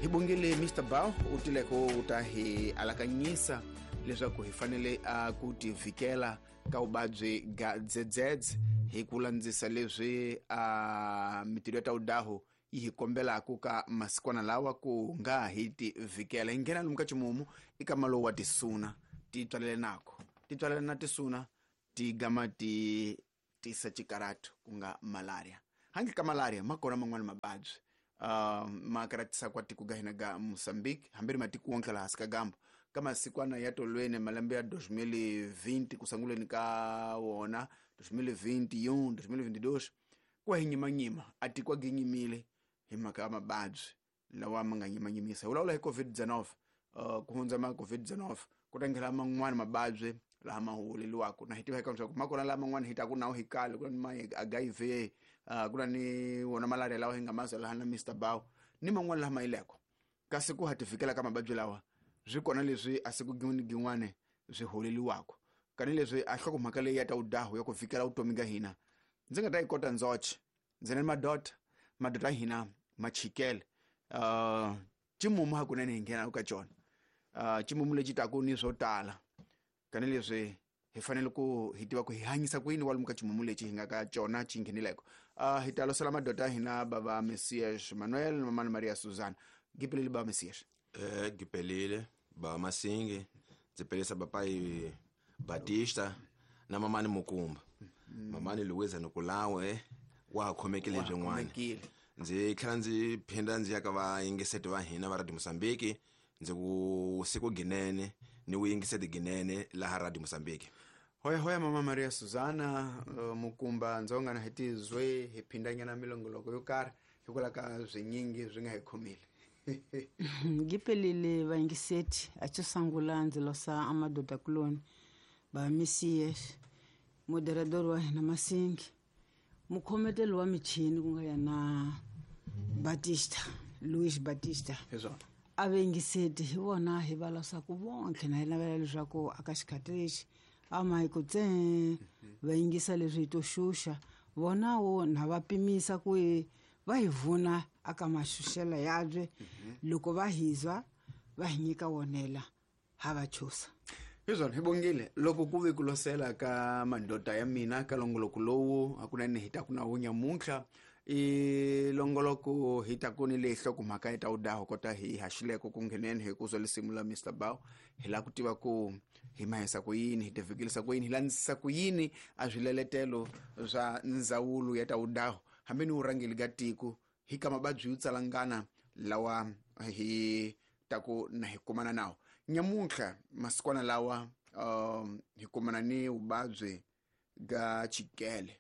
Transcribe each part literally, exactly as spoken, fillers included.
Hi bongile Mister Bao u tileko u ta hi alakanyisa leswaku hi fanele a ku tivikela ka vuvabyi ga dzedzedze hi ku landzisa leswi a mitirho ya ta udaho yi hi kombelaka ka masikwana lawa ku nga hi tivikela. Hi nghena lomu ka ximumu i ka malowu wa tisuna ti tswalele nako ti tswalele na tisuna ti gama ti tisa xikaratu ku nga malaria. Handle ka malaria ma kona man'wani mavabyi uh, ma karatisa kwa tiko ga hina ga Mozambique hambi ri matiko wonke laha hansi ka gambo ka masikwana ya tolweni malembe ya dos mil vinte ku sunguleni ka wona dos mil vinte e um, dos mil vinte e dois ku hi nyimanyima a tiko a ginyimile hi mhaka ya mavabyi lawa ma nga nyimanyimisa. Hi vulavula hi COVID dezenove uh, ku hundza ma COVID dezenove ku ta nghena man'wani mavabyi laha ma huweleliwaka na hi tiva eka leswaku ma kona laha man'wani hi taku nawu hi kale ku na ni ma H I V uh, ku na ni wona malaria lawa hi nga mazwa laha na Mister Bao ni man'wani laha ma yileko kasi ku ha tivikela ka mavabyi lawa swi kona leswi a siku gin'wana gin'wana swi holeliwaka kanileswi a nhlokomhaka leyi ya ta udahu ya ku vikela vutomi ka hina ndzi nga ta yi kota ndzoxe ndzi na madota madota ya hina ma chikele uh, ximumu hakunene hi nghena ka xona uh, ximumu lexi taku ni swo tala kanileswi hi fanele ku hi tiva ku hi hanyisa ku yini kwalomu ka ximumu lexi hi nga ka xona xi nghenileko. Uh, hi ta losela madota ya hina bava Messias Manuel na mamani Maria Suzana. Gipelele bava Messias. Eh, gipelile bava Masingi ndzi pelisa papai Batista na mamani Mukumba. Mm. Mamani Luiza Nokulawe wa khomekile byin'wana. Ndzi tlhela ndzi phinda ndzi ya ka vayingiseti va hina va Radio Mozambique ndzi ku siku ginene ni wu yingiseti ginene laha Radio Mozambique. Hoya hoya mama Maria Suzana uh, Mukumba ndzonga na hitizwe hi phindanyana milongoloko yo karhi hikwalaho ka swinyingi swi nga hi khomile. Ngipelile vayingiseti a xo sungula ndzi losa amadoda kuloni ba Messias moderador wa hina Masingi mukhometeli wa michini ku nga yena Batista Luis Batista a vayingiseti hi vona hi va losaku vontlhe na hi navela leswaku aka xikhathi lexi a ma hi ku tse va yingisa leswi hi to xuxa vona wo na va pimisa ku va hi vuna aka maxuxela yabye loko va hizwa va hi nyika wonela ha va chusa. Hiswona hi bongile loko ku ve ku losela ka madota ya mina ka longoloko lowu hakunene hi ta ku na wu nyamuntlha i longoloko hi ta ku ni leyi nhlokomhaka yi ta wu daha kota hi haxileko ku ngheneni hi ku zwa lisimu la Mister Bao hi lava ku tiva ku hi mahisa ku yini hi tivikelisa ku yini hi landzisa ku yini a swileletelo swa ndzawulo ya ta wudaho hambi ni vurhangeri ka tiko hi ka mavabyi yo tsalangana lawa hi ta ku na hi kumana nawo. Nyamuntlha masikwana lawa um, hi kumana ni vuvabyi ga chikele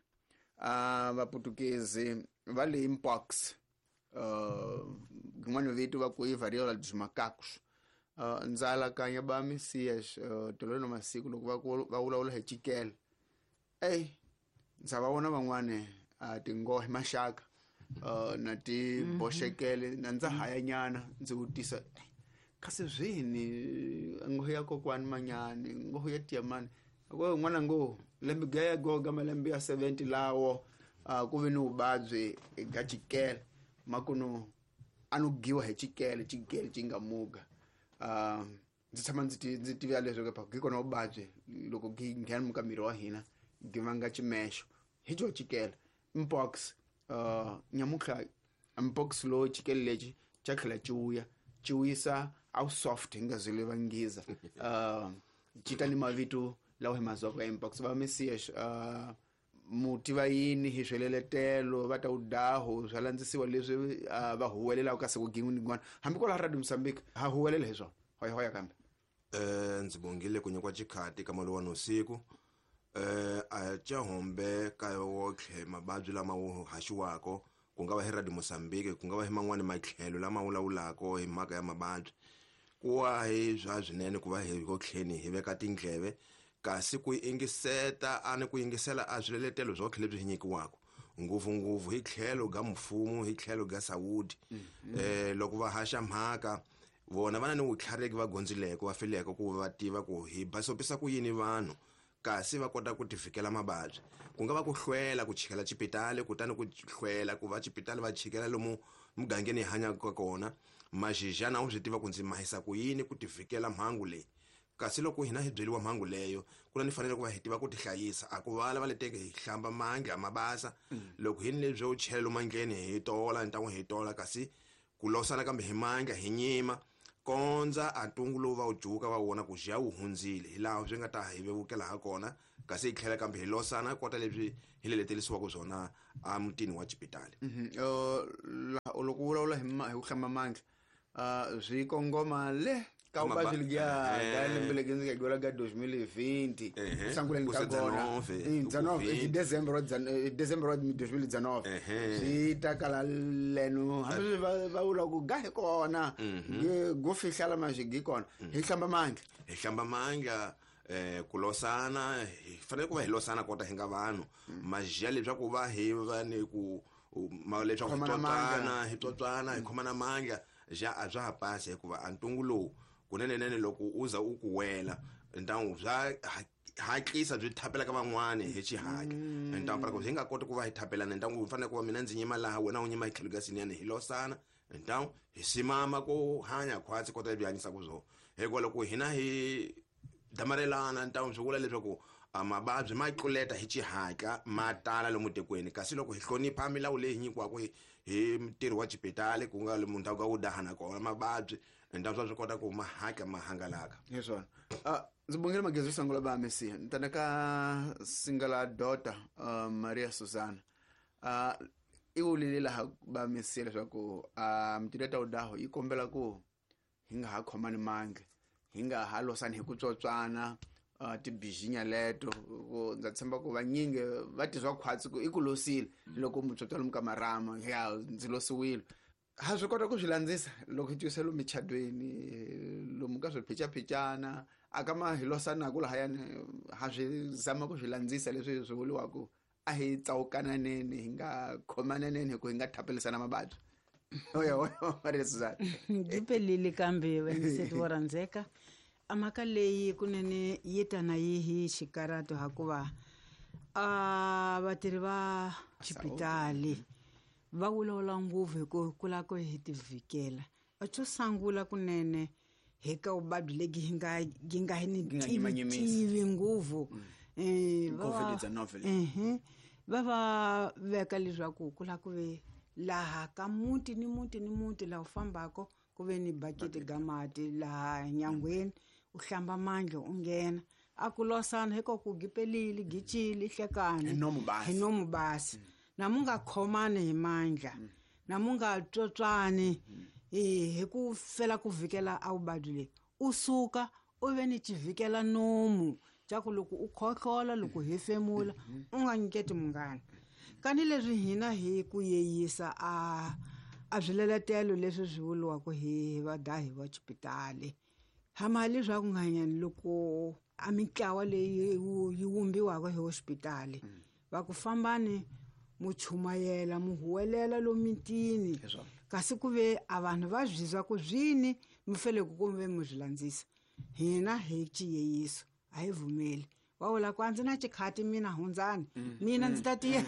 uh, vaputukezi va le mpox rin'wana uh, vito va ku i variola dos macacos. Uh, ndza alakanya ba Messias uh, tolweni na masiku loko va va vulavula hi chikele ey ndza va vona van'wani uh, tinghohe maxaka uh, na ti boxekele na ndza hayanyana ndzi vutisa kasi swini nghohe ya kokwani manyani nghohe ya tiyamani ko n'wana ngo lembe ga ya goga malembe ya seventy lawo uh, ku ve ni vuvabyi ga chikele makuno a no giwa hi chikele chikele xi nga muga. Uh, ndzi tshama ndzi ndzi tiva leswaku pa gi kona vuvabyi loko gi nghena ka miri wa hina gi vanga ximexo hi xo chikele mpox. Uh, nyamuntlha mpox lowu chikele lexi xa tlhela xi vuya xi wisa a soft hi nga zile va nghiza uh, xi ta ni mavito lawa hi mazwaka ya mpox. Va Messias uh, muti va yini hi sweleletelo va ta udaho swa landzisiwa leswi uh, va huwelelaka ka siku gin'wana gin'wana hambi kwala Radio Mozambique ha huwelela hi swona hoya hoya kambe. Eh ndzi bongile ku nyikiwa xikhati ka mali wa nusiku eh a chahombe ka wotlhe mavabyi lama wu haxiwako ku nga va hi Radio Mozambique ku nga va hi man'wani matlhelo lama vulavulako hi mhaka ya mavabyi ku wa hi swa swinene ku va hi kotlheni hi veka tindleve kasi ku yingiseta a ni ku yingisela a swiletelo swo tlhela leswi hi nyikiwaka ngopfungopfu hi tlhelo ga mfumo hi tlhelo ga Saudi eh loko va haxa mhaka vona va na ni vutlhariki va gondzileko va fileko ku va tiva ku hi basopisa ku yini vanhu kasi va kota ku tivikela mavabyi. Ku nga va ku hlwela ku chikela xipitali, kutani ku hlwela ku va xipitali va chikela lomu mugangeni hi hanyaka kona. Maxijana u swi tiva ku ndzi mahisa ku yini ku tivikela mhangu leyi. Kasi loko hina hi byeriwa mhangu leyo, ku na ni fanele ku va hi tiva ku tihlayisa. A ku vala va leteke hi hlamba mandla ma basa. Loko hi ni lebyo u chela lomu mandleni hi tola, ntangu hi tola, kasi ku losana kambe hi mandla hi nyima kondza a ntungu lowu va wu juka va vona ku ja wu hundzile, hi laha swi nga ta hi vevukela ha kona. Kasi hi tlhela kambe hi losana kota leswi hi leletelisiwaka swona a mutini wa xipitali. Loko u vulavula hi hi ku hlamba mandla, swi kongoma le ka vuvabyi lebyiya ga lembe leri ndzi nga gula ga twenty twenty, sanguleni ka kona hi December wa December wa twenty nineteen, swi ta kala leno hambi va va vula ku ga hi kona go fihlala maxigi kona hi hlamba mandla, hi hlamba mandla. Eh ku losana hi fanele ku va hi losana kota hi nga vanhu majiya leswaku va hi va ni ku leswaku hi tswatswana hi tswatswana hi khomana mandla ja a bya ha pasi, hikuva a ntungu lowu kunenenene loko u za u ku wela ntangu bya hatlisa byi thapela ka van'wani hi xihatla. Ntangu para ku hi nga koti ku va hi thapelana, ntangu u fanele ku va mina ndzi nyima laha wena u nyima hi tlhelo ka siniyani, hi losana ntangu hi simama ku hanya khwatsi kota lebyi hanyisaka byona. Hikuva loko hina hi damarelana ntangu swi vula leswaku mavabyi ma tluleta hi xihatla ma tala lomu tikweni. Kasi loko hi hlonipha milawu leyi hi nyikiwaka hi hi ntirho wa xipitali ku nga lomu ndhawu ka wu dahana kona mavabyi ntangu swa kota ku ma hatla ma hangalaka. Hi swona. Ndzi bongile magezi yo sungula va Mesiya ni tana ka singala daughter Maria Susana. I vulile laha va Mesiya leswaku mitirho ta udaho yi kombela ku hi nga ha khomani mandla, hi nga ha losani hi ku tswotswana tibijinya leto. Ndza tshemba ku vanyingi va tizwa khwatsi ku i ku losile loko mutswotswa lomu ka marama ya ndzi losiwile. Ha swi kota ku swi landzisa loko hi twisa lomu michadweni lomu ka swiphicaphicana a ka ma hi losanaku lahayani, ha swi zama ku swi landzisa leswi swi vuriwaka a hi tsawukananeni hi nga khomananeni hi ku hi nga thapelisana mavabyi. Oya oya Maria Susana. Ndzi kambe vayingiseri vo rhandzeka, a mhaka leyi kunene yi ta na yi hi xikarato hakuva a vatirhi va xipitali va vulavula ngopfu hi ku kula ku hi tivikela. A xo sungula kunene hi ka vuvabyi lebyi hi nga yi nga hi ni tivi ngopfu va va veka leswaku ku la ku ve laha ka muti ni muti ni muti laha u fambaka ku ve ni bakiti ga mati laha nyangweni u hlamba mandla u nghena. A ku losana hiko ku gipelile gicile hlekani hi nomu basi, na mu nga khomani hi mandla, na mu nga tswotswani hi ku fela ku vikela a vuvabyi leyi. U suka u ve ni xivikela nomu xa ku loko u khohlola loko hefemula u nga nyiketi munghana. Kani leswi hina hi ku yeyisa a a swileletelo leswi swi vuriwaka hi vadahi va xipitali hama leswaku nganyani loko a mitlawa leyi yi vumbiwaka hi hospitali va ku fambani mu chumayela mu huwelela lomitini, kasi ku ve a vanhu va byizwa ku zwini mi fele ku kumbe mu swi landzisa. Hina hi xiyeyiso a hi vumeli va vula ku a ndzi na xikhati mina hundzani mina ndzi ta tiya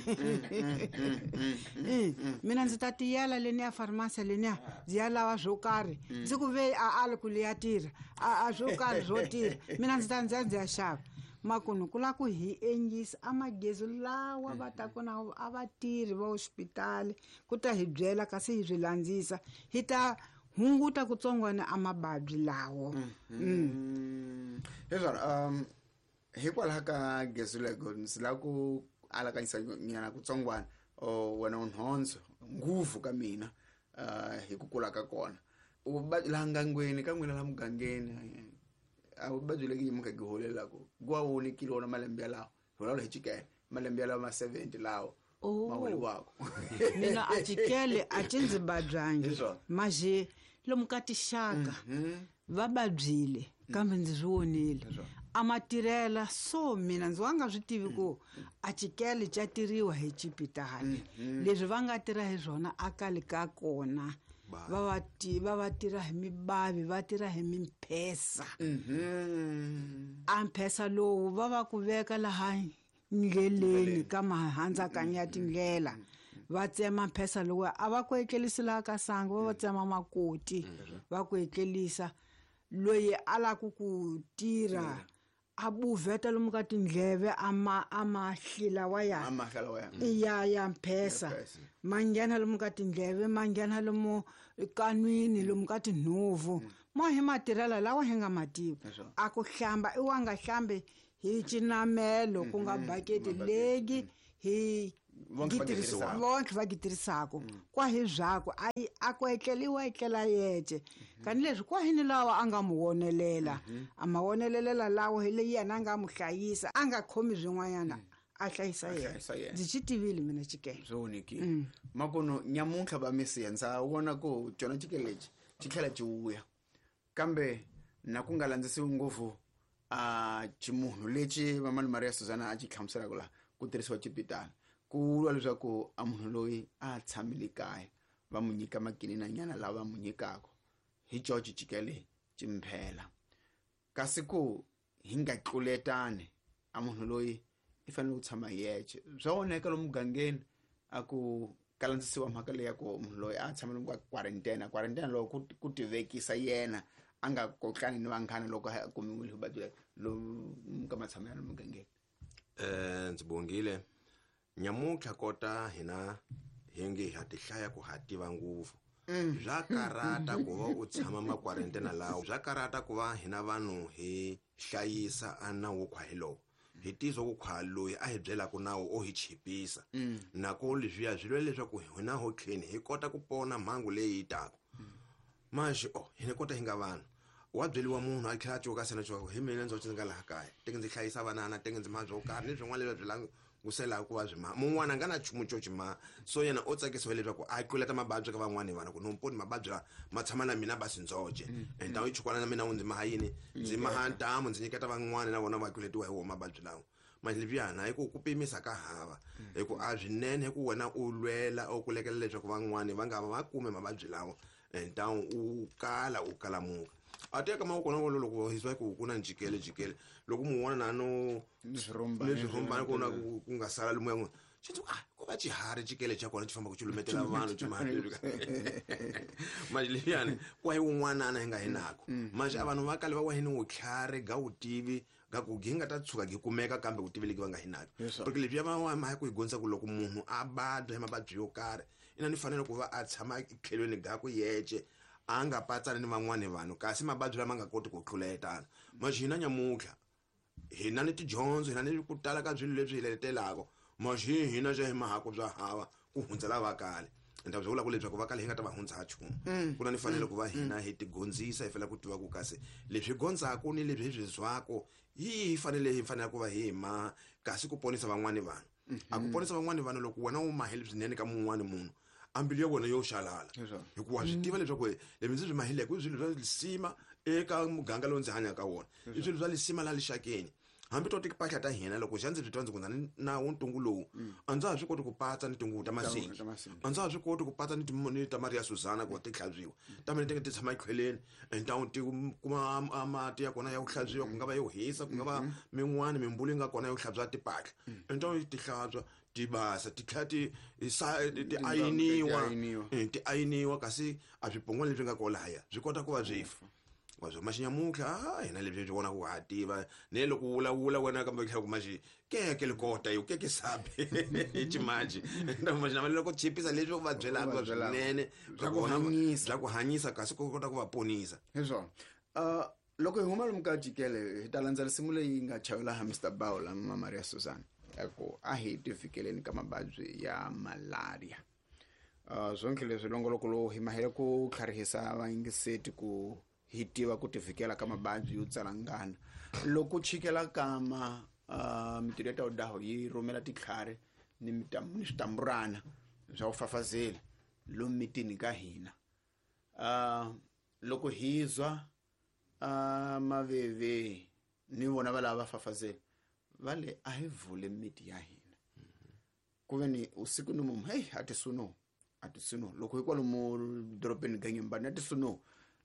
mina ndzi ta tiyela leniya pharmacy leniya ndzi ya lava swo karhi ndzi ku ve a ali ku liya tirha a swo karhi swo tirha mina ndzi ta ndzi ya ndzi ya xava. Makunu ku la ku hi endlisa a magezi lawa va ta ku na a vatirhi va hospitali ku ta hi byela kasi hi swi landzisa hi ta hunguta kutsongwana a mavabyi lawo. Heswona um hikwalaho ka gezi lego ndzi lava ku alakanyisa nyana kutsongwana wena unhondzo nguvu ka mina hi ku kula ka kona laha ngangweni ka n'wina laha mugangeni a vuvabyi leki nyimuka gi holelaku gwa vonekile wona malembe yalawo hi vulavula hi chikele malembe yalawo ma seventy lawo ma holiwako. Mina a chikele a ci ndzi babyangi maje lomu ka tixaka va babyile kambe ndzi swi vonile a ma tirhela so mina ndzi wa nga swi tivi ku a chikele xa tiriwa hi xipitali leswi va nga tirha hi swona a kale ka kona Va va ti va va tirha hi mibavi, va tirha hi mimphesa. Mhm. A mphesa lowu va va ku veka laha ndleleni ka mahandzakanya ya tindlela. Va tsema mphesa lowu a va ku etlerisi laha ka sangu, va va tsema makoti, va ku etlerisa. Loyi a lava ku ku tirha a buveta lomu ka tindleve a ma a ma hlila wa ya. A ma hlila wa ya. Ya ya mphesa. Mphesa. Ma nghena lomu ka tindleve, ma nghena lomu kanwini, lomu ka tinhovu. Mo hi matirhela lawa hi nga ma tivi. Leswo. A ku hlamba i wa nga hlambi hi cinamelo ku nga baketi legi hi Vonke va gitirisa- gitirhisaka. vonke va gitirisaka. Kwa hi byakwe, a yi, a ku etleliwa etlela yece. Kani leswi kwa hi ni lawa a nga mu wonelela. A ma wonelelela lawa hi leyi yena a nga mu hlayisa, a nga khomi swin'wanyana, a hlayisa yena. Hlayisa yena. Ndzi xi tivile mina xikele. Swo onhekile. Makono nyamuntlha va misiya ndza vona ku cona xikele lexi xi tlhela xi vuya. Kambe na ku nga landzisiwi ngopfu a ximunhu lexi Mamani Maria Suzana a xi hlamuselaka laha ku tirhisiwa xipitala. Ku vuriwa leswaku a munhu loyi a tshamile kaya va n'wi nyika makininanyana lawa va n'wi nyikaka hi George Chikele Chimphela. Kasi ku hi nga tluletani a munhu loyi i fanele ku tshama hi yexe. Swa onheka lomu mugangeni a ku kalandzisiwa mhaka leyi ya ku munhu loyi a tshama lomu ka quarantine. Quarantine loko ku, ku tivekisa yena a nga kotlani ni vanghana loko a kumiwile vuvabyi lomu ka matshamelo ya lomu mugangeni. Eh, ndzi bongile. Nyamuntlha kota hina hi nge ha ti hlaya ku ha tiva ngopfu. Bya karata ku va u tshama ma quarantine lawo. Bya karata ku va hina vanhu hi hlayisa a nawu wo khwa hi lowo. Hi tizwa ku khwa loyi a hi byelaka nawu o hi chipisa. Nako leswiya swi lwela leswaku hina ho tlheni hi kota ku pona mhangu leyi yi taka. Manje oh hina kota hi nga vanhu. Wa byeriwa munhu a tlhela a cuka sena cuka hi mina ndzi nga laha kaya. Teke ndzi hlayisa vanana, teke ndzi mabyo karhi ni swin'wana leswi byi languselaka ku va swi ma. Mun'wana a nga na nchumu xo xi ma. So yena o tsakisiwa leswaku a tluleta mavabyi ka van'wani vanhu ku no poni mavabyi lawa ma tshama na mina basi ndzoxe. And ndhawu yi chukwana na mina wu ndzi maha yini? Ndzi maha ntamu ndzi nyiketa van'wani na vona va tluletiwa hi wona mavabyi lawa. Manje leswiyana hi ku ku pimisa ka hava. Hi ku a swinene hi ku wena u lwela u kulekela leswaku van'wani va nga va kume mavabyi lawa. Ntamu u kala u kalamuka. A teka mavoko na wona loko hi swa ku ku na njikele jikele loko mun'wana na no Ni swirhumbani, ni swirhumbani ku na ku ku nga sala lomu ya n'wina. Xi ndzi ku, ah, ku va xiharhi jikele xa kona xi fambaka xi lumetela vanhu xi ma Manje leswiyani ku hi wun'wanana hi nga hi nako. Manje a vanhu va kale va wa hi ni vutlhari ga vutivi ga ku gi nga ta tshuka gi kumeka kambe vutivi legi va nga hi nako. Yes, sir. Porque leswiya va wa ma ku hi dyondzisa ku loko munhu a vabya hi mavabyi yo karhi ina ni fanele ku va a tshama etlhelweni ga ku yece a nga patsani ni van'wani vanhu kasi mavabyi lama nga koti ku tluletana. Manje hina nyamuntlha hina ni tidyondzo hina ni ku tala ka swilo leswi hi letelaka manje hina xa hi mahako bya hava ku hundza lava kale. Ndzi vula ku leswaku va kale hi nga ta va hundza nchumu. Ku na ni fanele ku va hina hi tigondzisa hi fanele ku tiva ku kasi leswi hi gondzaka ni leswi hi swi zwaka hi hi fanele hi fanele ku va hi ma kasi ku ponisa van'wani vanhu. A ku ponisa van'wani vanhu loko wena u mahele swinene ka mun'wani munhu a mbilu ya wena yo xalala. Leswaku. Hikuva swi tiva leswaku leswi ndzi swi mahileke i swilo swa lisima eka muganga lowu ndzi hanyaka ka wona. I swilo swa lisima laha lixakeni. Hambi to timpahla ta hina loko xa ndzi swi twa ndzi ku na na wu ntungu lowu a ndza ha swi koti ku patsa ni tinguvu ta masingi. Ta masingi. A ndza ha swi koti ku patsa ni ti ni ta Maria Suzana ku va ti hlantswiwa. Ta mina ti ti tshama etlhelweni and ta ti kuma a mati ya kona ya ku hlantswiwa ku nga va yo hisa ku nga va min'wani mimbulu yi nga kona yo hlantswa timpahla. And ta ti hlantswa ti basa ti tlhela ti sa ti ayiniwa. ayiniwa. Eh, ti ayiniwa kasi a swipongwana leswi nga kona lahaya swi kota ku va swi fa. Wa swo maxinyamuntlha, ah, hina leswi hi vona ku ha tiva. Ne loko u vulavula wena kambe u tlhela ku maxi keke likota yo keke sabe ximanji. Nda maxinyamuntlha loko chipisa leswi u va byelaka U va byelaka. swinene Bya ku vona hanyisa. bya ku hanyisa kasi ku kota ku va ponisa. Hi swona. Uh, loko hi huma lomu ka jikele hi ta landza risimu leyi nga chavela ha Mister Bawula Mama Maria Suzana ya ku a hi tivikeleni ka mavabyi ya malaria. Uh, swonke leswi longoloko lowu hi mahele ku tlharihisa vayingiseti ku hi tiva ku tivikela ka mavabyi yo tsalangana. Loko chikela kama, uh, mitirho ya tawudaho yi rhumela titlhari ni mitam-, ni switamburana swa ku fafazela lomu mitini ka hina. Uh, loko hi zwa, uh, maveve ni vona va lava va fafazela va le a hi vule miti ya hina. Ku ve ni usiku ni mumu, hey, a ti suno, A tisuno loko hi kwalomu dorobeni ganyembani a tisuno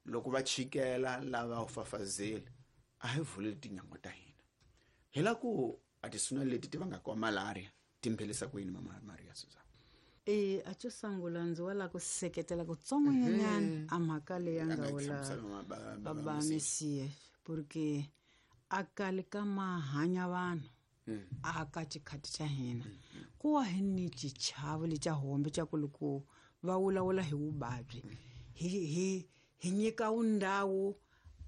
loko va chikela lava u fafazela a hi vuleli tinyangwa ta hina hi la ku a tisuna leti ti vangaka wa malaria timphelisa ku yini mama Maria Suzana? E a xo sungula ndzi wa la ku seketela kutsongonyana a mhaka leyi ya nga vula baba Mesiya porque a kale ka mahanya vanhu a ka xikhati xa hina ku wa hi ni xichavo lexa hombe xa ku loko va vulavula hi vuvabyi hi hi hi nyika wundhawu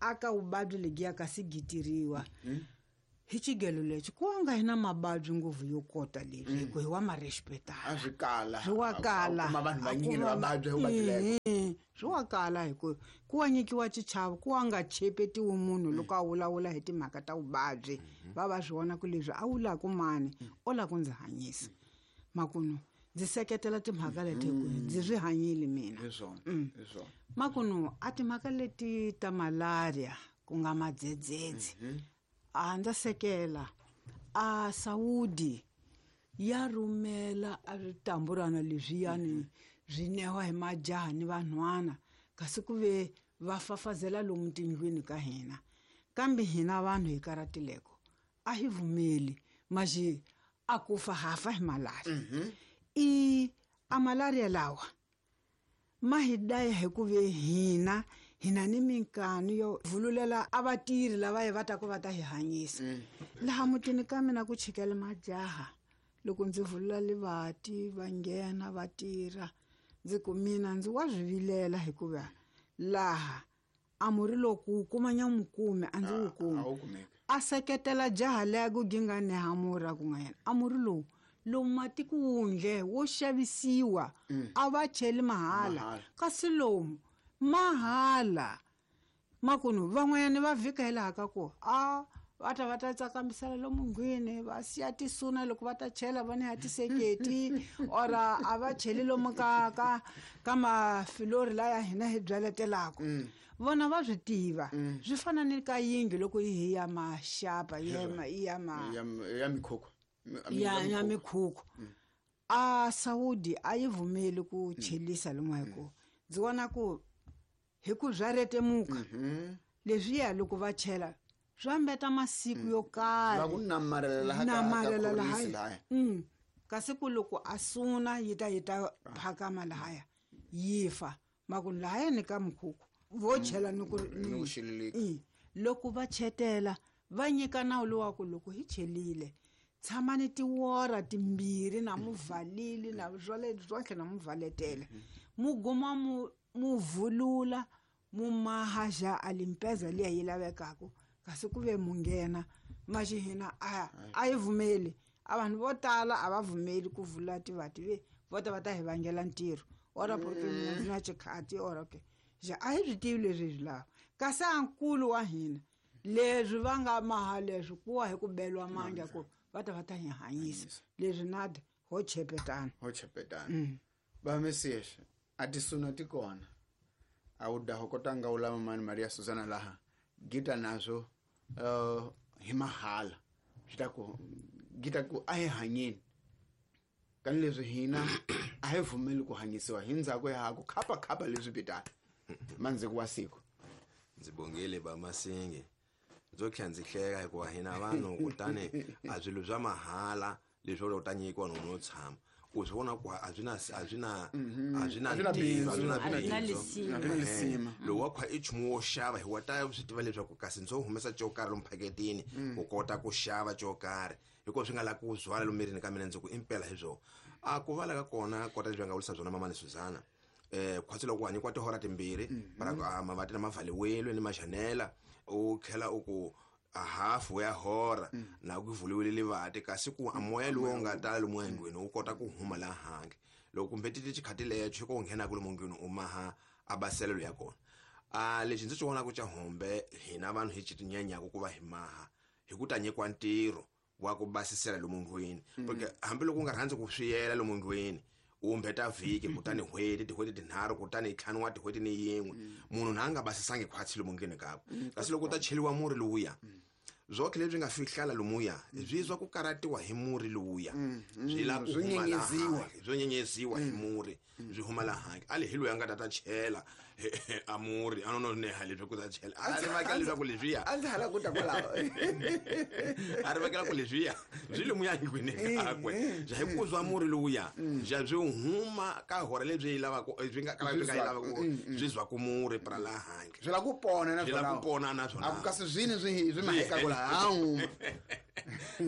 aka vuvabyi lebyiya kasi gitiriwa hi xigelo lexi ku nga hi na mavabyi ngopfu yo kota leswi hi ku hi wa ma respectana a swi kala swi wa kala kuma vanhu vanyingi va vabya hi vuvabyi lebo swi wa kala hi ku ku wa nyikiwa xichavo ku wa nga chepetiwi munhu loko a vulavula hi timhaka ta vuvabyi va va swi vona ku leswi a vulaka mani o lava ku ndzi hanyisa makunu ndzi seketela timhaka leti hi ku ndzi swi hanyile mina hi swona hi swona makunu a timhaka leti ta malaria ku nga madzedzedze a ndza sekela a Saudi ya rhumela a switamburana leswiyani swi newa hi majaha ni vanhwana kasi ku ve va fafazela lomu tindlwini ka hina kambe hina vanhu hi karatileko a hi vumeli maxi a ku fa hafa hi malaria i a malaria lawa ma hi daya hi ku ve hina hina ni minkanu yo vululela a vatirhi lava hi va ta ku va ta hi hanyisa laha mutini ka mina ku chikela majaha loko ndzi vulula livati va nghena va tirha ndzi ku mina ndzi wa swi vilela hikuva laha a murhi loko wu kuma nyamukume a ndzi wu kumi a wu kumeki a seketela jaha leya ku ginga nehamura ku nga yena a murhi lowu lowu matiko wundle wo xavisiwa a va cheli mahala Mahala. kasi lomu mahala makunu van'wanyana va vhika hi laha ka ku a va ta va ta tsakamisela lomu ndlwini va siya tisuna loko va ta chela va ni ya tiseketi or a va cheli lomu ka ka ka mafilori laya hina hi byaletelaka vona va swi tiva swi fana ni ka yindlu loko yi hi ya maxapa yi ya ma- yi ya ma ya ya mikhukhu ya ya mikhukhu a Saudi a yi vumeli ku chelisa lomu hi ku ndzi vona ku hi ku bya retemuka leswiya loko va chela swa mbeta masiku yo va karhi ku namarela laha ka- ka namarela khorwisi lahaya lahaya Mm. kasi ku loko a suna yi ta yi ta phakama lahaya yi fa makunu lahaya ni ka mukhukhu vo chela ni ku Ni ku xililika. Mm. Loko va chetela va nyika nawu lowa ku loko hi chelile tshamani tiwora timbirhi na muvalili na swale swotlhe na muvaletele mu guma mu mu vulula mu maha ja a limpeza liya yi lavekaka kasi ku ve mu nghena maxi hina a a yi vumeli a vanhu vo tala a va vumeli ku vula tivati ve vo ta va ta hi vangela ntirho ora porque mina ndzi na xikhati ora okay ja a hi swi tivi leswi hi swi lava kasi a nkulu wa hina leswi va nga maha leswi ku wa hi ku beliwa mandla ku va ta va ta hi hanyisa leswi nada ho chepetana ho chepetana ba Mesias a tisuna ti kona a wu daha kota nga wu lava mani Maria Suzana laha gita nazwo uh, hi mahala swi ta ku gita ku a hi hanyeni kani leswi hina a hi vumeli ku hanyisiwa hi ndzhaku ya ha ku khapa khapa leswi pitana mandzhiku wa siku ndzi bongile ba Masingi ndzo tlhela ndzi hleka hikuva hina vanhu kutani a swilo swa mahala leswi u ta nyikiwa no no tshama u swi vona ku a swi na a swi na a swi na A swi na ntirho, a swi na bindzu. A swi na bindzu. lisima. A swi na lisima. Ehe. Lowu wa khwa i nchumu wo xava hi wa ta swi tiva leswaku kasi ndzo humesa xo karhi lomu phaketini ku kota ku xava xo karhi hikuva swi nga lavi ku zwala lomu mirini ka mina ndzi ku impela hi swona a ku vala ka kona kota leswi va nga vurisa byona mamani Suzana eh khwatsi loko u hanyikiwa tihora timbirhi para ku a mavati na mavhaliwile ni maxanela u tlhela u ku a hafu ya hora na ku vuliwile livati kasi ku a moya lowu wu nga tala lomu endlwini wu kota ku huma laha handle loko kumbe titi xikhati lexo ko nghenaka lomu ndlwini u maha a baselelo ya kona a lexi ndzi xi vonaka xa hombe hina vanhu hi xi tinyanyaku ku va hi maha hi ku ta nyikiwa ntirho wa ku basisela lomu ndlwini porque hambiloko u nga rhandzi ku swiyela lomu ndlwini u mbeta vhiki kutani n'hweti tin'hweti tinharhu kutani ntlhanu wa tin'hweti ni yin'we munhu na a nga basisangi khwatsi lomu ndlwini kakwe kasi loko u ta cheliwa murhi lowuya Zwoke lebyi nga fihlala lomuya byi zwa ku karatiwa hi muri lowuya byi la ku nyenyeziwa byo nyenyeziwa hi muri byi huma la handle ali hi loyi a nga ta ta chela a muri a no ne ha lebyi ku ta chela a ri vaka leswaku leswiya a ndzi hala ku ta kwalaho a ri vakela ku leswiya byi lomuya nkwini kakwe bya hi ku zwa muri lowuya bya byi huma ka hora lebyi yi lavaka byi nga kala byi nga yi lavaka byi zwa ku muri pra la handle byi la ku pona na byi la ku pona na swona a ku kasi swini swi swi maheka ku la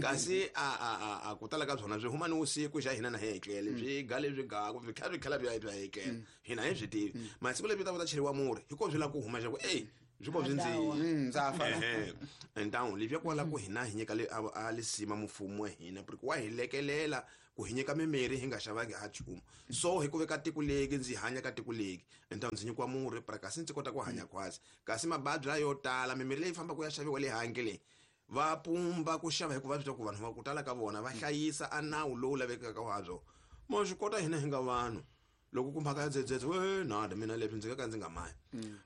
kasi a a a ku tala ka byona byi huma ni vusiku xa hina na hi etlele byi ga lebyi gaku byi kha byi khala byi bya etlele hina hi swi tivi masiku lebyi ta va ta cheriwa muri hi ko byi la ku huma xa ku ey byi ko byi ndzi ndza fa entawu lebyi kwala ku hina hi nyika le a lisima mfumo wa hina porque wa hi lekelela ku hi nyika mimirhi hi nga xavangi ha nchumu so hi ku veka tiko leki ndzi hanya ka tiko leki entawu ndzi nyikiwa murhi pra kasi ndzi kota ku hanya khwatsi kasi mababyi layo tala mimirhi leyi fambaka ya xaviwa le handle leyi va pumba ku xava hikuva swi ku vanhu va ku tala ka vona va hlayisa a nawu lowu lavekaka wa byo mo swi kota hina hi nga vanhu loko ku mhaka ya dzedzedze we nada mina leswi ndzi nga ka ndzi nga mayi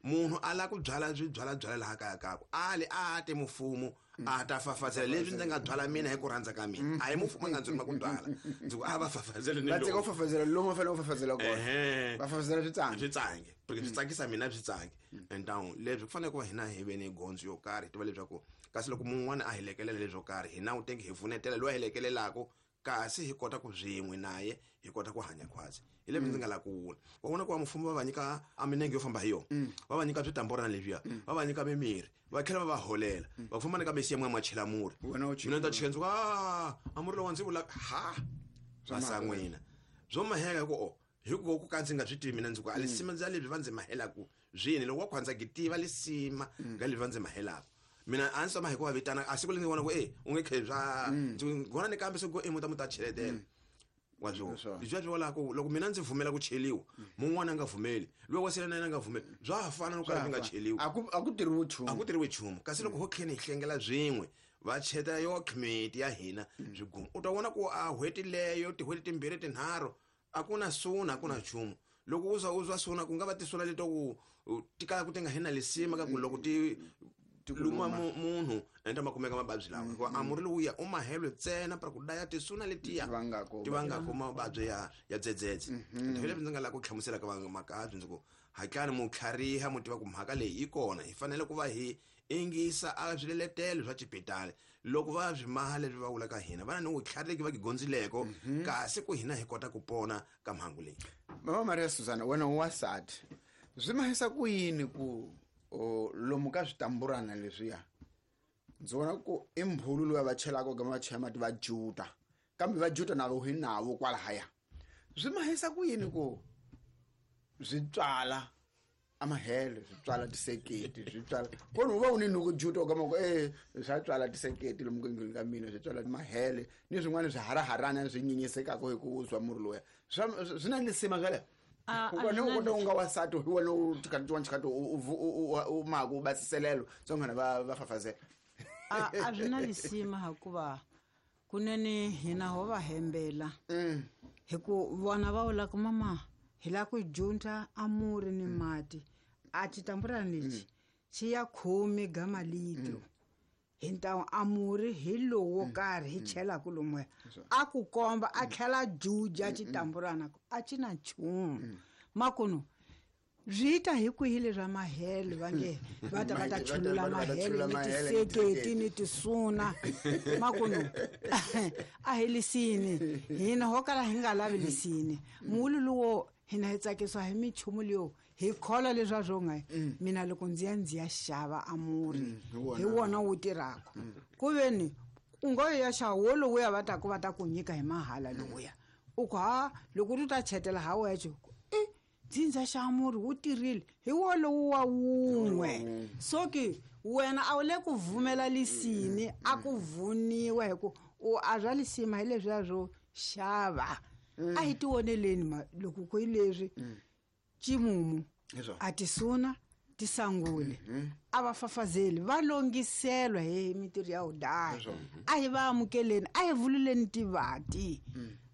munhu a lava ku byala swi byala byala laha kaya kakwe ali a te mfumo a ta fafazela leswi ndzi nga byala mina hi ku rhandza ka mina a hi mfumo a nga ndzi rhuma ku byala ndzi ku a va fafazele ni va teka ku fafazela lomu va fanele ku fafazela kona va fafazela switsange switsange porque swi tsakisa mina swi tsange entawu leswi ku fanele ku va hina hi ve ni gondzo yo karhi hi tiva leswaku kasi loko mun'wana a hi lekelela leswo karhi hina u tenge hi pfunetela loyi a hi lekelelaka kasi hi kota ku byin'we naye hi kota ku hanya khwatsi hi leswi ndzi nga la ku vula wa vona ku va mfumo va va nyika a minenge yo famba hi yona va va nyika switamborana leswiya va va nyika mimirhi va tlhela va va holela va famba ni ka mesiya mwa chela murhi mina ni ta chela ndzi ku a a murhi lowa ndzi vula ha va n'wina byo maheka ku o hi ku ku ka ndzi nga swi tivi mina ndzi ku a lisima ndza lebyi va ndzi mahelaku swini loko wa khwandza ki tiva lisima nga lebyi va ndzi mahelaku mina a ndzi tshama hi ku va vitana a siku leri ndzi vona ku e u nge khe bya ndzi vona ni kambe se ku e muta muta cheletela wa byo bya byi wala ku loko mina ndzi pfumela ku cheliwa mun'wana a nga pfumeli loyi wa sele na yena a nga pfumeli bya ha fana no kala byi nga cheliwi a ku a ku tirhiwi nchumu a ku tirhiwi nchumu kasi loko ho tlheni hi hlengela byin'we va cheta yo khimiti ya hina byi guma u ta vona ku a hweti leyo tihweti timbirhi tinharhu a ku na suna a ku na nchumu loko u za u zwa suna ku nga va tisuna leto ku ti kala ku ti nga hina lisima ka ku loko ti luma munhu enda makumeka mababyi lawa hikuva a muri lowuya u mahelwe ntsena para ku daya tisuna letiya ti vangako mababyi ya ya dzedzedze hi leswi ndzi nga lava ku hlamusela ka vamakabyi ndzi ku hatlani mu tlhariha mu tiva ku mhaka leyi yi kona hi fanele ku va hi ingisa a swiletelo swa xipitali loko va swi maha leswi va vulaka hina va na ni vutlhari va gigondzileko kasi ku hina hi kota ku pona ka mhangu leyi mama Maria Susana wena u wasati swi mahisa ku yini ku o lomu ka switamburana leswiya ndzi vona ku i mbhulu loyi va chelaka ka va chela mati va juta kambe va juta na vo hi navo kwalahaya swi mahisa ku yini ku swi tswala amahele swi tswala tiseketi swi tswala kona u va u ni nuku juta ka mako eh swa tswala tiseketi lomu kengeni ka mina swi tswala mahele ni swin'wana swi haraharana swi nyinyisekaka hi ku zwa muri loya swi na lisima swale u kona u nga wasati hi wena u tikati wa nchikati u maku u basiselelo swa va va fafazela a a swi na lisima hikuva kunene hina ho va hembela hi ku vona va vula ku mama hi la ku junta amuri ni mati a xitamburana lexi xi ya khume ga malitro hi ntawu amuri hi lowo karhi hi chelaka lomuya a ku komba a tlhela juja xitamburana a xi na nchumu makunu swi ta hi kwihi leswa mahele va nge va ta va ta chulula mahele ni tiseketi ni tisuna makunu a hi lisini hina ho kala hi nga lavi lisini muulu luwo hina hi tsakisiwa hi minchumu leyo hi kholwa leswa swo nga mina loko ndzi ya ndzi ya xava amuri hi wona wu tirhaka ku veni u ngo ya xava wo lowuya va taku va ta ku nyika hi mahala lowuya u ku ha loko u ta chetela ha wexe e dzindza xa murhi wu tirhile hi wolowu wa wun'we so ke wena a wu le ku vumela lisini a ku vuniwa hi ku u a bya lisima hi leswiya swo xava a hi tioneleni ma loko ku hi leswi ximumu a tisuna tisangule a va fafazeli va longiselwa hi mintirho ya udaya a hi va amukeleni a hi vululeni tivati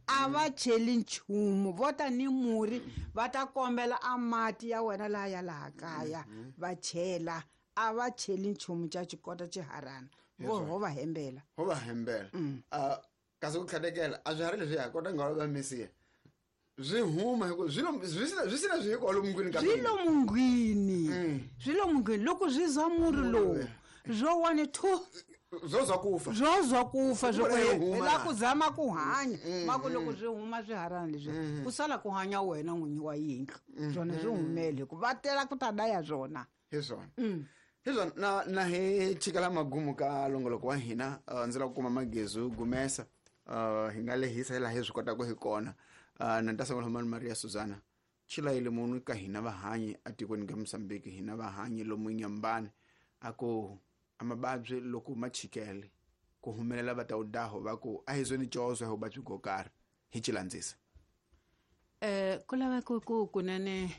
a va cheli nchumu vo ta ni murhi va ta kombela a mati ya wena laha ya laha kaya va chela a va cheli nchumu xa xikota xiharana vo ho va hembela ho va hembela a kasi ku tlhatekela a swi hari leswi ya kota nga va misiya swi huma hi ku swi lo swi sina swi sina swi hi kwalomu ngwini ka swi lo mungwini swi lo mungwini loko swi zwa murhi lowu zwo one two zwo zwa kufa zwo zwa kufa zwo la ku zama ku hanya ma ku loko swi huma swiharani leswi ku sala ku hanya wena n'winyi wa yindlu swona swi humele ku va tela ku ta daya swona hi swona hi swona na na hi chikela magumu ka longoloko wa hina ndzi lava ku kuma Magezi Gumesa hi nga lehisa hi laha hi swi kotaka hi kona na ni ta sungula mani Maria Suzana chilayile munhu ka hina vahanyi atikweni ka Mozambique hina vahanyi lomu Nyambani a ku amababyi loko ma chikele ku humelela va ta udaho va ku a hi zweni cozo hi vuvabyi byo karhi hi chilandzisa eh ku lava ku ku kunene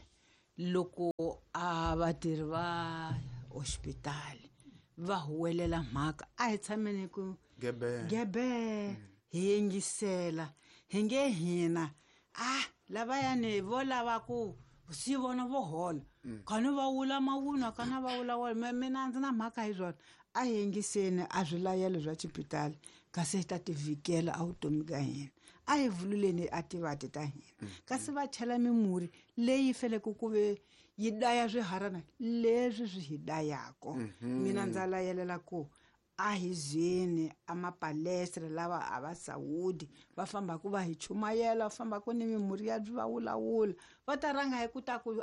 loko a vatirhi va hospitali va huwelela mhaka a hi tshameni ku gebe gebe hi yingisela hi nge hina ah lavayani vo lava ku si vona vo hola khani va wula mavunwa kana va wula wona mina ndzi na mhaka hi swona a hi yingiseni a swilayelo swa xipitali kasi hi ta tivikela a vutomi ka hina a hi vululeni a tivati ta hina kasi va chela mimurhi leyi faneleke ku ve yi daya swiharana leswi swi hi dayako mina ndza layelela ku a hi zweni a mapalestra lava a va sawudi va fambaku va hi chumayela va fambaku ni mimurhi ya va wulawula va ta rhanga hi ku ta ku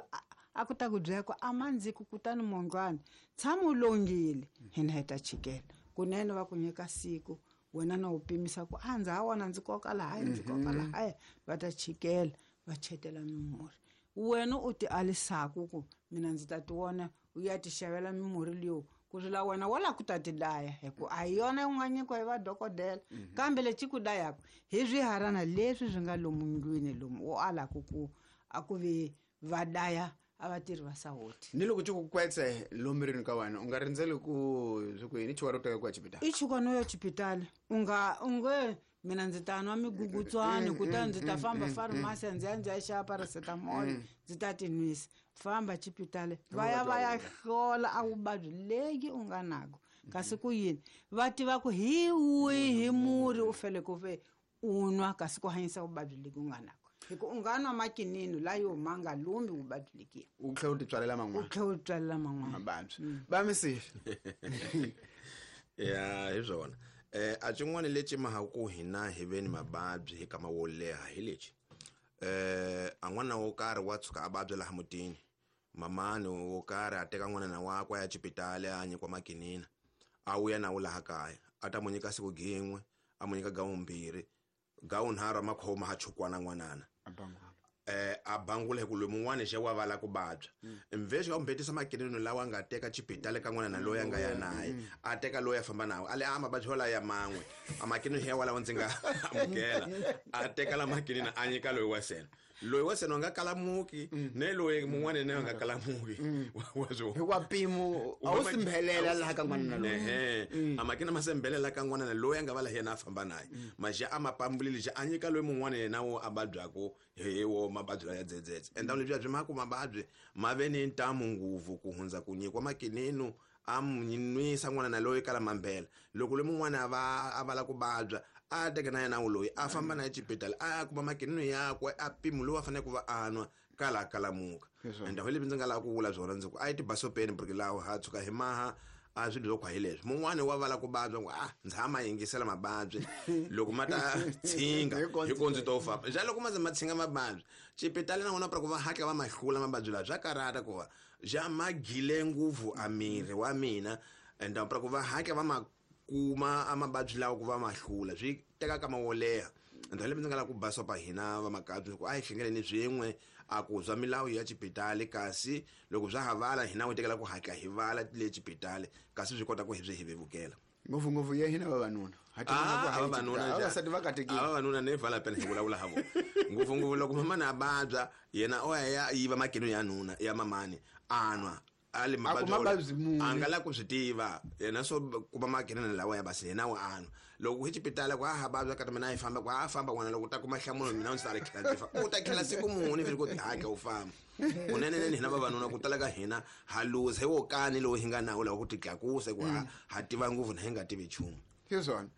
a ku ta ku byela ku a mandziku kutani mondlwana tshama u longile hina hi ta chikela kunene va ku nyika siku wena na u pimisa ku a ndza ha wona ndzi koka lahaya ndzi koka lahaya va ta chikela va chetela mimurhi wena u ti alisaku ku mina ndzi ta ti vona u ya ti xavela mimurhi leyo ku ri la wena wa la ku ta ti daya hi ku a hi yona u nga nyikiwa hi vadokodela kambe lexi ku dayaka hi swiharana leswi swi nga lomu ndlwini lomu u alaku ku a ku ve va daya a vatirhi va sawoti ni loko ci ku kwetse lomu rini ka wena u nga rindzeli ku swi ku yini chuka ro teka ku ya xipitali i chuka no ya xipitali u nga u nge mina ndzi ta nwa migugutswani kutani ndzi ta famba farmasi ndzi ya ndzi ya xava paracetamol ndzi ta ti nwisa famba xipitali va ya va ya hlola a vuvabyi leyi u nga nako kasi ku yini va tiva ku hi wihi murhi u fanele ku ve u nwa kasi ku hanyisa vuvabyi leki u nga nako hi ku u nga nwa makinini layo ma nga lumbi vuvabyi lekiya u tlhela u ti tswalela man'wana u tlhela u tswalela man'wana mavabyi va misifi ya hi swona eh a xin'wana lexi mahaku hina hi ve ni mavabyi hi kama wo leha hi lexi eh a n'wana wo karhi wa tshuka a vabya laha mutini mamani wo karhi a teka n'wana wakwe a ya xipitali a nyikiwa makinina a vuya na wu laha kaya a ta mu nyika siku gin'we a mu nyika gawumbirhi gawunharhu a makhoma ha chukwana n'wanana eh a bangula hi ku loyi mun'wana xe wa vala ku vabya mvexi va mbetisa makinino lawa nga teka xipitali ka n'wana na loyi a nga ya naye a teka loyi a famba nawo a le a mavabyi walawa ya man'we a makinino ya walawo ndzi nga amukela a teka la makinino a nyika loyi wa sena loyi wa sena a nga kalamuki ne loyi mun'wana ne a nga kalamuki wa swo hikuva mpimo a wu simbhelela laha ka n'wana na loyi ehe a makina ma sembhelela ka n'wana na loyi a nga va la yena a famba naye maxa a ma pambulile xa a nyika loyi mun'wana yena wo a vabyaku hi wo mavabyi laya dzedzedze enda leswiya byi ma ku mavabyi ma ve ni ntamu ngopfu ku hundza ku nyikiwa makinino a nwisa n'wana na loyi kala mambela loko loyi mun'wana a va a vala ku vabya a teka na yena loyi a famba na xipitali a kuma makinino yakwe a mpimo lowu a faneleke ku va a nwa kala kalamuka ende hi leswi ndzi nga lava ku vula swona ndzi ku a yi tibasopeni porque lawo ha tshuka hi maha a swilo swo khwa hi leswi mun'wani wa vala ku vabya ku a ndzi ha ma yingisela mavabyi loko ma ta tshinga hi ko ndzi to famba xa loko ma ze ma tshinga mavabyi xipitali na wona ku va hatla va ma hlula mavabyi lawa swa karhata ku va xa ma gile ngopfu a miri wa mina ende ku va hatla va ma kuma a mavabyi lawa ku va ma hlula swi teka kama wo leha ende leswi ndzi nga lava ku basopa hina vamakabyi ku a hi hlengeleni swin'we a ku zwa milawu ya xipitali kasi loko swa ha vala hina wu tekela ku hatla hi vala le xipitali kasi swi kota ku hi swi hi vevukela ngopfungopfu ya hina vavanuna vavanuna va katekile vavanuna ne vala pena hi vulavula ha vona ngopfungopfu loko mamani a vabya yena o ya ya yiva makino ya nuna ya mamani a nwa Ali A ku mavabyi mavabyi wona, muni. A nga la ku swi tiva yena swo kuma makinene lawa ya basi yena wa anwa loko hi xipitala ku a ha vabya kati mina a yi famba ku a famba n'wana loko u ta kuma nhlamulo mina ndzi ta ri khela ndzi fa u ta khela siku muni vheli ku tihaka u famba kunenenene hina vavanuna ku tala ka hina ha luza hi wo kani lowu hi nga nawo lawa ku titlakusa ku ha ha tiva ngopfu na hi nga tivi nchumu. Hi swona,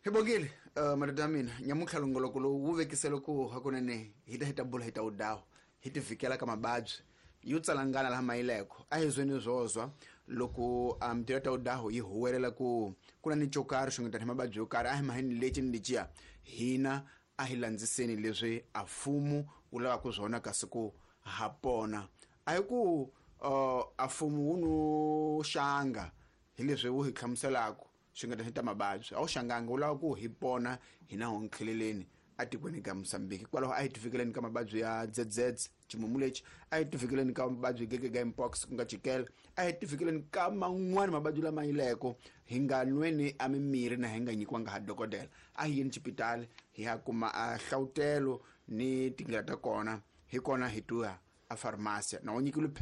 hi bongile uh, madoda ya mina. Nyamuntlha longoloko lowu wu vekisele ku hakunene hi ta hi ta bula hi ta wu dawu hi ti vhikela ka mababyi yo tsalangana laha mayileko. A hi zweni zwozwa loko um tira ta udaho yi huwelela ku ku na ni xo karhi xungetana hi mababyi yo karhi, a hi maheni lexi ni lexiya hina a hi landziseni leswi a mfumo wu lavaka swona kasi ku ha pona. A hi ku uh, a mfumo wu no xanga hi leswi wu hi hlamuselaka xungeta ni ta mababyi, a wu xanganga, wu lava ku hi pona hina ho nkheleleni atikweni ka Mosambiki. Kwalaho a hi tifikeleni ka mababyi ya dzedzedze, ximumu lexi, a hi tifikeleni ka mababyi gege mpox ku nga chikele, a hi tifikeleni ka man'wani mababyi lama yileko. Hi nga nweni a mimirhi na hi nga nyikiwanga ha dokodela. A hi yeni xipitali hi ya kuma a hlawutelo ni tindlela ta kona, hi kona hi tuya a farmasi na wu nyikile.